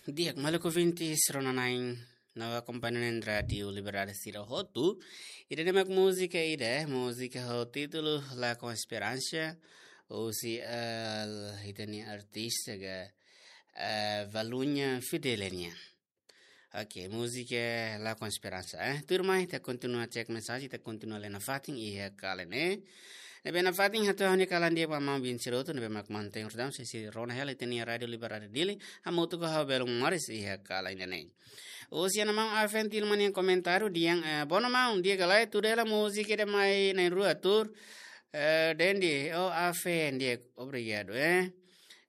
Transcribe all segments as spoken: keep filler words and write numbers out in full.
Di'ak, maluk ouvintes, rona-na'in no akompaña na'in Rádiu Liberdade sira hotu. Ida-ne'e mak múzika ida, múzika ho títulu Lakon Esperansa, husi, eh, ita-nia artista ka, eh, Valuña Fidele nian. Oke, múzika Lakon Esperansa, eh. Tuirmai, ita kontinua cek mensajen, ita kontinua lee nafatin iha kalan ne'e. Ne'ebé nafatin hato'o ha'u-nia kalan di'ak ba maun-bin sira hotu, ne'ebé mak mantein rotasaun, sei rona hela ita-nia Rádiu Liberdade Dili, hamutuk ho ha'u belun moris iha kalan ida-ne'e. Husi Ana Maun Afen Tilman nian komentáriu dehan, eh, bono maun, di'ak ka lae, tuda hela múzika ida mai na'in-rua tuur, eh, Dendi, oh Afen, di'ak, obrigadu, eh.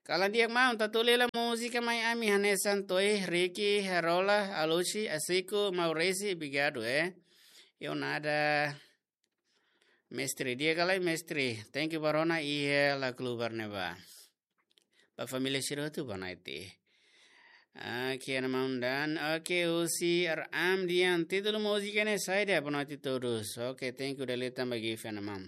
Kalan di'ak maun, ita tuur hela múzika mai ami hanesan To'i, Ricky, Rola, Alushi, Asiko, Maurisi, obrigadu, eh. Yo nada. Mestre, di'ak ka lae, mestre. Thank you ba rona iha La Klubar ne'ebá. Ba família sira hotu boa noite. Oke, Ana Maun Dani. Oke, husi R M dehan, títulu múzika ne'e saida, boa noite todos. Oke, thank you, Delita, ba gift, Ana Maun.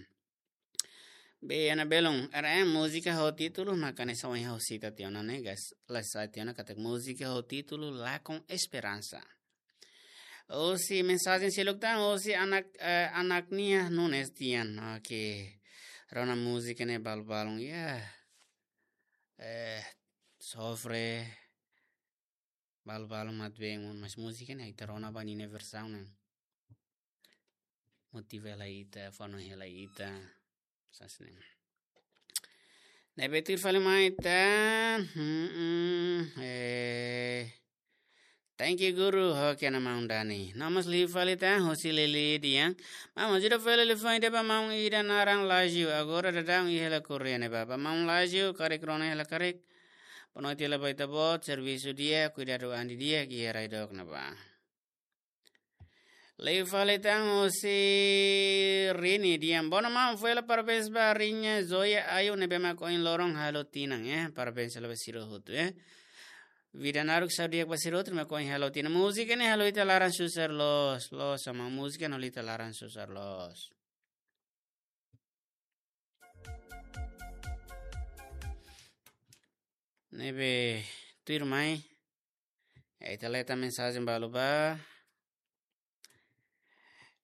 Be, Ana Belun, R M, múzika ho títulu, maka ne'e só ha'u sita tiha ona ne'e, guys. La sita tiha ona katak múzika ho títulu Lakon Esperansa. Husi mensajen seluk tan, husi Anak, eh, Anaknia Nunes dehan. Oke. Rona múzika ne'e balu-balun, ya. Eh, sofre. Balu-balun mak bem, mas múzika ne'e ita rona ba ninia versaun ne'e. Motiva hela ita, fó hanoin hela ita. Sasne. Ne'ebé tuir fali mai tan. Hmm, hmm, eh. Thank you, guru. Oke, Ana Maun Dani. No mós liu fali tan, husi Lili dehan. Maun, ajuda fali liafuan ida ba maun ida naran Laju. Agora daudaun iha hela Korea ne'ebá. Ba maun Laju, karik rona hela karik. Boa noite hela ba ita-boot, servisu di'ak, kuidadu an didi'ak iha rai dook ne'ebá. Liu fali tan husi Rini dehan, bono maun, fó hela parabéns ba Rini Zoya Ayu ne'ebé mak ohin loron halo tinan, eh. Parabéns hela ba sira hotu, eh. Vida naruk, saúde di'ak ba sira hotu ne'ebé mak ohin halo tinan. Múzika ne'e halo ita laran susar loos, loos, Ana Maun, múzika ne'e halo ita laran susar loos. Ne'ebé tuirmai, eh, ita lee tan mensajen balu ba.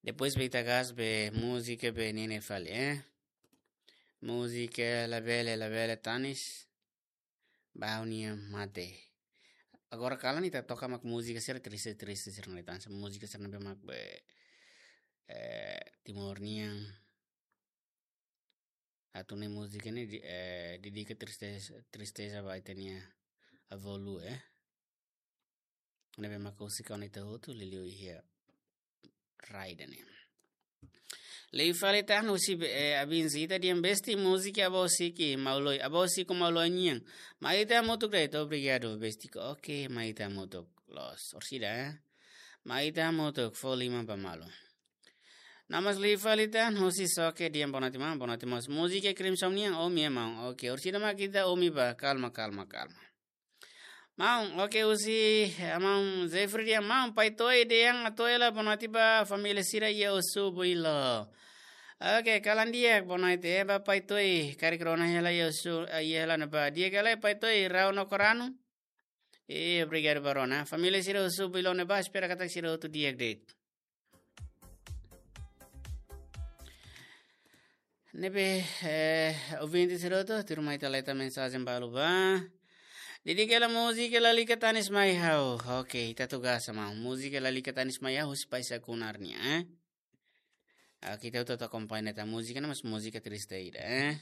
Depois be ita gás be múzika be nini fali, eh. Múzika Labele, Labele Tanis. Ba ha'u-nia mate. Agora kalan ita toka mak múzika sira triste, triste sira ne'e tan. Múzika sira ne'ebé mak be, eh, Timor nian. Atu ne'e múzika ne'e di-, eh, dedika tristeza, tristeza ba ita-nia avó-lulu, eh. Ne'ebé mak husik ona ita hotu liuliu iha rai ida-ne'e. Liu fali tan husi be-, eh, Abin Zita dehan, besti, múzika Avó Siki Mauloi, Avó Siko Mauloi nian. Mai ita hamutuk de'it, obrigadu, besti. Oke, mai ita hamutuk. Loos, orsida, eh. Mai ita hamutuk, fó liman ba malu. No mós liu fali tan husi Soke dehan, boa noite maun, boa noite maun. Múzika Crimson nian, omi, eh, maun. Oke, orsida mak ita omi ba, kalma, kalma, kalma. Maun, oke, husi, eh, maun Jeffrey dehan, maun, Pai To'i dehan atu hela boa noite ba família sira iha Osu-Builo. Oke, kalan di'ak, boa noite, eh, ba Pai To'i, karik rona hela iha Osu, eh, iha hela ne'ebá. Di'ak ka lae, Pai To'i, rau no koranu. Eh, obrigadu ba rona. Família sira Osu-Builo ne'ebá, espera katak sira hotu di'ak de'it. Ne'ebé, eh, ouvinte sira hotu, tuirmai ita lee tan mensajen balu ba. Dedika hela múzika Lalika Tanis Mai Ha'u. Oke, ita tugas sama. Múzika Lalika Tanis Mai Ha'u, husi Pai Sakunar nian, eh. Oke, ita hotu akompaña tan múzika ne'e, mas múzika triste ida, eh.